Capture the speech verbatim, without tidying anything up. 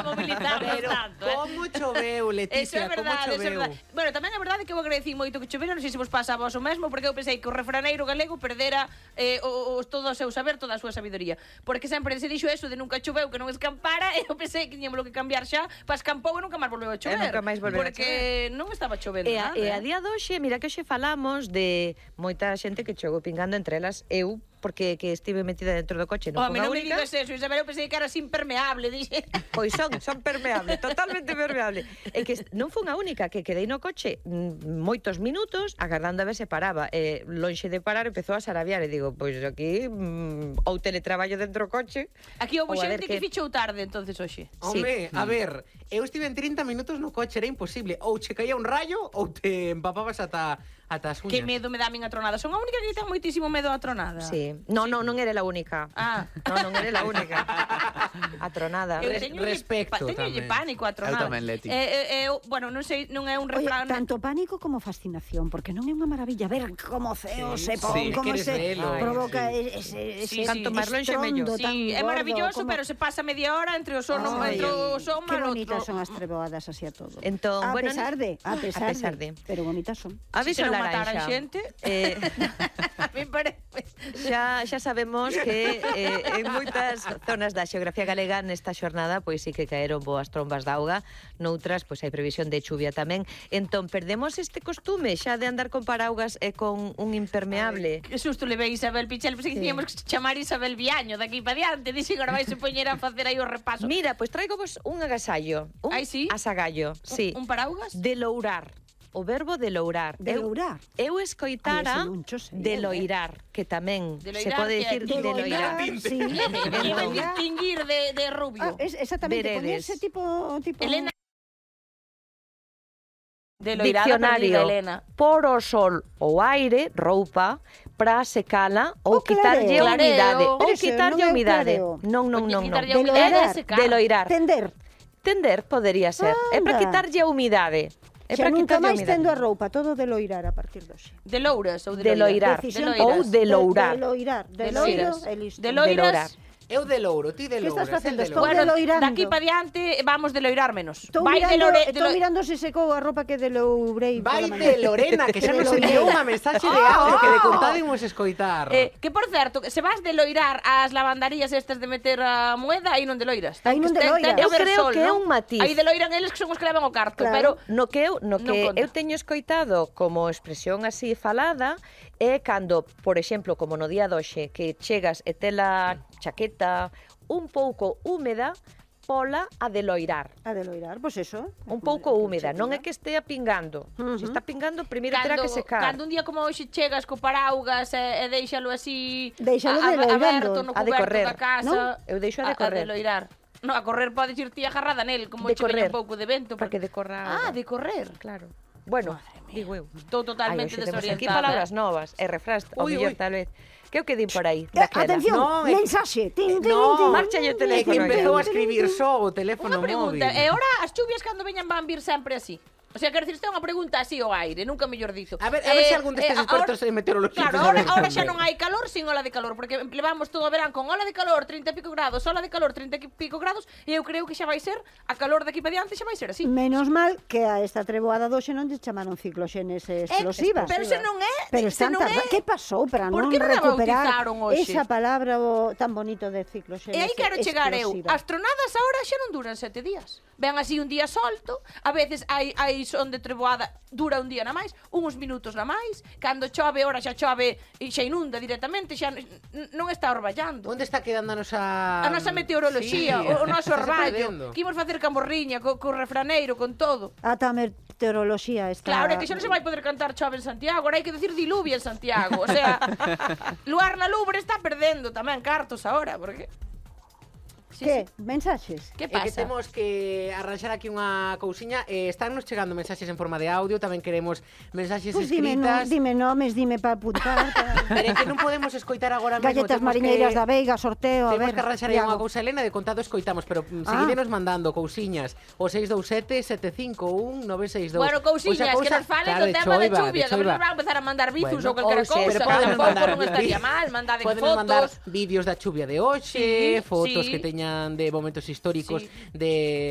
mobilizarnos tanto, eh? Como choveu, Leticia, como choveu. Bueno, tamén é verdade que eu agradecí moito que chovera, non sei se vos pasa a vos o mesmo, porque eu pensei que o refraneiro galego perdera eh, o, o, todo o seu saber, toda a súa sabiduría. Porque sempre se dixo eso de nunca choveu, que non escampara, e eu pensei que tiñamos que cambiar xa, pa escampou e nunca máis volveu a chover. E nunca máis volveu a chover. Porque non estaba chovendo e a, nada. E a día de hoxe, mira que hoxe falamos de moita xente que chegou pingando, entre elas eu, porque que estive metida dentro do coche, non Home, foi non a me única. digas eso, Isabel, eu pensei que eras impermeable, dixe. Pois son, son permeable, totalmente permeable. E que non foi a única, que quedei no coche moitos minutos agardando a ver se paraba. E lonxe de parar empezou a sarabiar e digo, pois aquí mm, ou teletraballo dentro do coche. Aquí houve xente que... que fichou tarde entonces hoxe. Home, sí. A ver, eu estive en trinta minutos no coche, era imposible. Ou che caía un rayo ou te empapabas ata ata as uñas. Que medo me dá a min a tronada. Son a única que ten moitísimo medo a tronada. Sí. No, sí. no, non era a única. Ah. No, non era a única. A tronada. Eu teño respecto tamén. Teño pánico a tronada. Eu tamén, Leti. Eh, eh, eu, bueno, non sei, non é un refrán... Oye, tanto pánico como fascinación, porque non é unha maravilla ver como ceo sí, se pon, sí, como se velo, provoca sí. ese, ese Sí, canto máis lonxe mellor. Sí, é maravilloso, como... pero se pasa media hora entre o son, Ay, entre o son qué mal bonitas outro. son as treboadas así a todo. Entón, a bueno, pesar de, a pesar, a pesar de. de, pero bonitas son. Aviso se non laranxa. mataran xente. Eh, a mí parece. xa, xa sabemos que eh, en moitas zonas da xeografía galega nesta xornada pois sí que caeron boas trombas de auga, noutras pois hai previsión de chuvia tamén. Entón, perdemos este costume xa de andar con paraugas e con un impermeable. Ay, que susto levei Isabel Pichel, pensei que Sí. tiñamos que chamar Isabel Viaño daqui para diante, dixe que agora vais a poñer a facer aí o repaso. Mira, pois traigo vos un agasallo, un Ai, sí? asagallo, sí. Un, un paraugas? De lourar. O verbo de lourar. De lourar? Eu, eu escoitara Ai, ese non cho sei, de eh. loirar, que tamén De se loirar, pode que dicir é de de loirar. Sí, Iba a distinguir de, de rubio. Ah, es, exactamente, Veredes. ponerse tipo, tipo... Elena. De loirada Diccionario, perdida, Elena. por o sol ou aire, roupa, pra secala ou O quitarlle clareo. a humidade. Clareo. Ou Pero ese quitarlle non é a o humidade. clareo. Non, non, Porque non, non. quitarlle De a humidade loirar. é secar. De loirar. Tender. Tender podería ser. É para Anda. quitarlle a humidade. É Xa para nunca quitarlle a máis humidade. tendo a roupa, todo de loirar a partir de hoxe. De louras ou de, De loirar. Decisión De loiras. Ou de lourar. De, de loirar. De, De loiro loiras. e listo. De loiras. De lourar. Eu de louro, ti de Que louro. estás facendo? es el de Estou louro. Bueno, de loirando. daqui para diante vamos de loirar menos. Estou Vai de mirando, lore, de estou lo... mirando se secou a roupa que de lourei. Vai pola de mañá. Lorena, que xa De nos loirei. enviou unha mensaxe de audio que de contado imos escoitar. Eh, que por certo, se vas de loirar as lavandarías estas de meter a moeda, aí non de loiras. Aí non de Ten- ten loiras. que Eu haber creo sol, que é non? un matiz. Aí de loiran eles que son os que levan o carto, Claro. pero No que eu, Non no que conta. eu teño escoitado como expresión así falada é cando, por exemplo, como no día doxe, que chegas e tela chaqueta un pouco húmeda, pola a de loirar. A de loirar, pois pues eso. Un pouco húmeda, non é que estea pingando. Ujú. Se está pingando, primeiro terá cando, que secar. cando un día como hoxe chegas co paraugas e, e deixalo así Deixalo a- de a- loirando. aberto no A de cuberto correr, da casa, non? Eu deixo a de correr. A, de loirar. No, a correr podes ir ti agarrada nel, como De che veña correr. un pouco de vento. Para que decorra Ah, algo. de correr. Claro. Bueno, Madre mía. digo eu. Estou totalmente Ai, hoxe temos desorientada. aquí palabras novas e refrás, o Ui, mellor ui. tal vez. Que o que din por aí? Eh, Daquela. atención, No, é que- mensaxe. Tin, tin, No, tin. marcha yo É o que teléfono. empezou a ya. escribir só o teléfono Unha pregunta, móvil. e ora as chuvias cando veñan van vir sempre así? O sea, quero dicir, isto é unha pregunta así ao aire, nunca mellor dito. A ver, a ver se algún destes expertos en meteorología Claro, te ahora, sabe ahora xa responder. non hai calor sin ola de calor, porque levamos todo o verán con ola de calor, trinta e pico grados, ola de calor, trinta e pico grados, e eu creo que xa vai ser, a calor daqui para diante xa vai ser así. Menos mal que a esta treboada doxe non lle chamaron cicloxénese explosiva. pero se non é, Pero se están non tarda- é. que pasou para Por non que non a recuperar bautizaron hoxe? esa palabra o, tan bonito de cicloxénese E aí quero chegar eu. explosiva? As tronadas agora xa non duran sete días. Ven así un día solto, a veces hai, hai son de treboada, dura un día na máis, uns minutos na máis, cando chove, ora xa chove e xa inunda directamente, xa n- non está orballando. Onde está quedando a nosa... A nosa meteoroloxía, Sí, o, o noso está se orballo, perdendo. que imos facer camorriña, co, co refraneiro, con todo. Ata a meteoroloxía está... Claro, é que xa non se vai poder cantar chove en Santiago, agora hai que decir diluvia en Santiago, o sea, Luar na Lubre está perdendo tamén cartos agora, porque... Sí, Que? sí. Mensaxes? Que É que pasa? temos que arranxar aquí unha cousiña. Eh, estánnos chegando mensaxes en forma de audio, tamén queremos mensaxes Pois dime, no, escritas. dime nomes, dime para apuntar. Pa... Pero é que non podemos escoitar agora mesmo. Galletas temos mariñeiras que... da Veiga, sorteo, a Temos ver. que arranxar aí unha Iago. cousa, Elena, de contado escoitamos, pero mm, Ah. seguidenos mandando cousiñas o seis dous sete, sete cinco un, nove seis dous. Bueno, cousiñas, Pois a que nos falen claro, do de tema de choiva, chuvia, que choiva. nos van a empezar a mandar bizos Bueno, ou calquera ou sea, cousa, pero que poden tampouco mandar non estaría mal, mandade Poden mandar fotos. vídeos da chuvia de hoxe, Sí, fotos sí. que teñan veñan de momentos históricos Sí. de